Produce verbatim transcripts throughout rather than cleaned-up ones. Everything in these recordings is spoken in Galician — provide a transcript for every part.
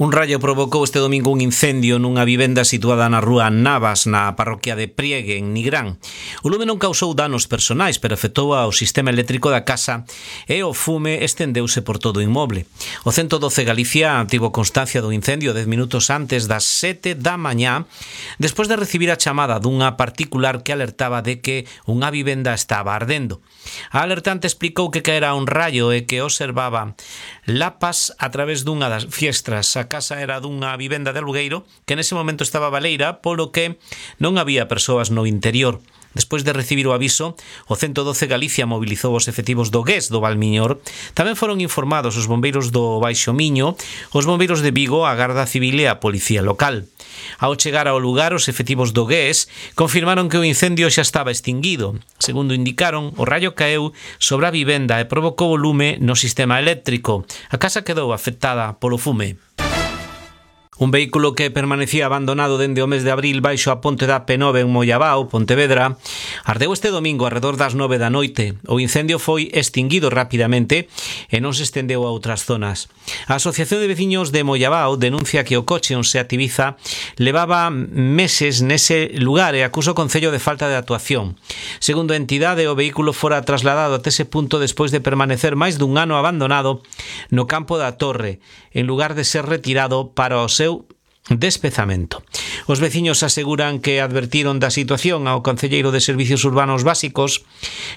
Un raio provocou este domingo un incendio nunha vivenda situada na rúa Navas, na parroquia de Priegue, en Nigrán. O lume non causou danos personais, pero afectou ao sistema eléctrico da casa e o fume estendeuse por todo o inmoble. O ciento doce Galicia tivo constancia do incendio dez minutos antes das sete da mañá, despois de recibir a chamada dunha particular que alertaba de que unha vivenda estaba ardendo. A alertante explicou que caera un raio e que observaba lapas a través dunha das fiestras. A casa era dunha vivenda de alugueiro que nese momento estaba baleira, polo que non había persoas no interior. Despois de recibir o aviso, o ciento doce Galicia mobilizou os efectivos do G E S do Valmiñor. Tamén foron informados os bombeiros do Baixo Miño, os bombeiros de Vigo, a Garda Civil e a Policía Local. Ao chegar ao lugar, os efectivos do G E S confirmaron que o incendio xa estaba extinguido. Segundo indicaron, o raio caeu sobre a vivenda e provocou o lume no sistema eléctrico. A casa quedou afectada polo fume. Un vehículo que permanecía abandonado dende o mes de abril baixo a ponte da P nove en Mollabao, Pontevedra, ardeu este domingo arredor das nove da noite. O incendio foi extinguido rapidamente e non se estendeu a outras zonas. A Asociación de Veciños de Mollabao denuncia que o coche onde se activiza levaba meses nese lugar e acusa o Concello de falta de actuación. Segundo a entidade, o vehículo fora trasladado até ese punto despois de permanecer máis dun ano abandonado no campo da Torre, en lugar de ser retirado para o seu despezamento. Os veciños aseguran que advertiron da situación ao concelleiro de Servicios Urbanos Básicos,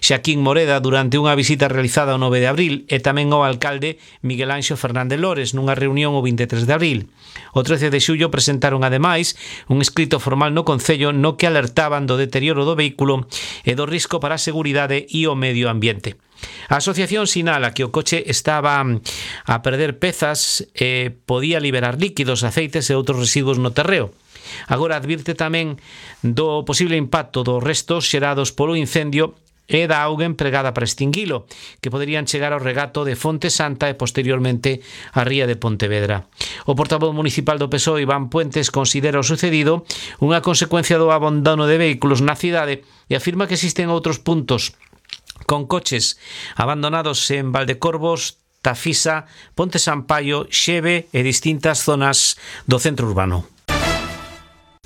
Xaquín Moreda, durante unha visita realizada o nove de abril e tamén ao alcalde Miguel Anxo Fernández Lores nunha reunión o vinte e tres de abril. O trece de xullo presentaron ademais un escrito formal no Concello no que alertaban do deterioro do vehículo e do risco para a seguridade e o medio ambiente. A asociación sinala que o coche estaba a perder pezas e podía liberar líquidos, aceites e outros residuos no terreo. Agora advirte tamén do posible impacto dos restos xerados polo incendio e da auga empregada para extinguilo, que poderían chegar ao regato de Fonte Santa e posteriormente á ría de Pontevedra. O portavoz municipal do P S O E, Iván Puentes, considera o sucedido unha consecuencia do abandono de vehículos na cidade e afirma que existen outros puntos con coches abandonados en Valdecorvos, Tafisa, Ponte Sampaio, Xeve e distintas zonas do centro urbano.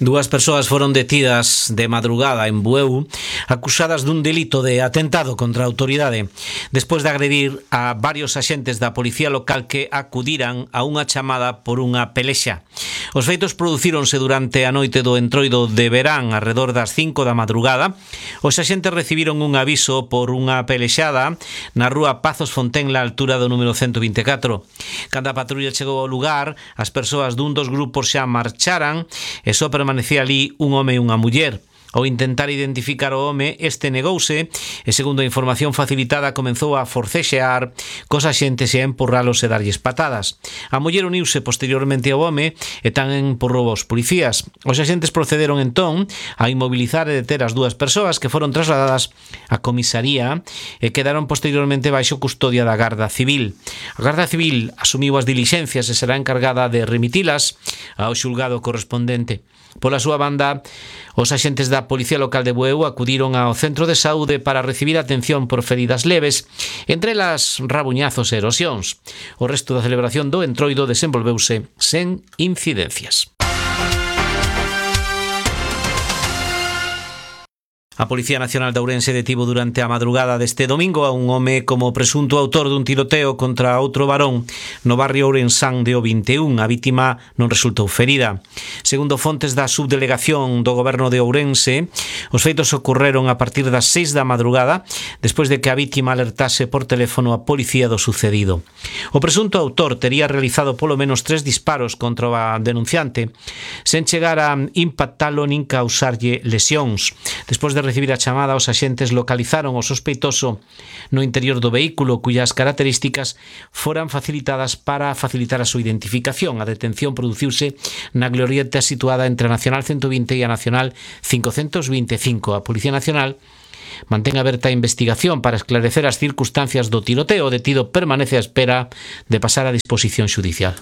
Dúas persoas foron detidas de madrugada en Bueu acusadas dun delito de atentado contra a autoridade despois de agredir a varios axentes da policía local que acudiran a unha chamada por unha pelexa. Os feitos producíronse durante a noite do entroido de verán arredor das cinco da madrugada. Os axentes recibiron un aviso por unha pelexada na rúa Pazos Fontenla, a altura do número ciento vinte e catro. Cando a patrulla chegou ao lugar, as persoas dun dos grupos xa marcharan e só permanecía ali un home e unha muller. Ao intentar identificar o home, este negouse e, segundo a información facilitada, comenzou a forcexear cos axentes e a empurralos e darlles patadas. A muller uniuse posteriormente ao home e tamén empurrou aos policías. Os axentes procederon entón a inmobilizar e deter as dúas persoas que foron trasladadas á comisaría e quedaron posteriormente baixo custodia da Garda Civil. A Garda Civil asumiu as dilixencias e será encargada de remitilas ao xulgado correspondente. Pola súa banda, os axentes da Policía Local de Bueu acudiron ao centro de saúde para recibir atención por feridas leves, entre elas rabuñazos e erosións. O resto da celebración do entroido desenvolveuse sen incidencias. A Policía Nacional de Ourense detivo durante a madrugada deste domingo a un home como presunto autor dun tiroteo contra outro varón no barrio ourensán de O vinte e un. A vítima non resultou ferida. Segundo fontes da subdelegación do Goberno de Ourense, os feitos ocorreron a partir das seis da madrugada, despois de que a vítima alertase por teléfono a policía do sucedido. O presunto autor tería realizado polo menos tres disparos contra a denunciante, sen chegar a impactalo nin causarlle lesións. Despois de recibir a chamada, os axentes localizaron o sospeitoso no interior do vehículo, cuyas características foran facilitadas para facilitar a súa identificación. A detención produciuse na glorieta situada entre a Nacional ciento vinte e a Nacional cincocentos vinte e cinco. A Policía Nacional mantén aberta a investigación para esclarecer as circunstancias do tiroteo. O detido permanece á espera de pasar a disposición xudicial.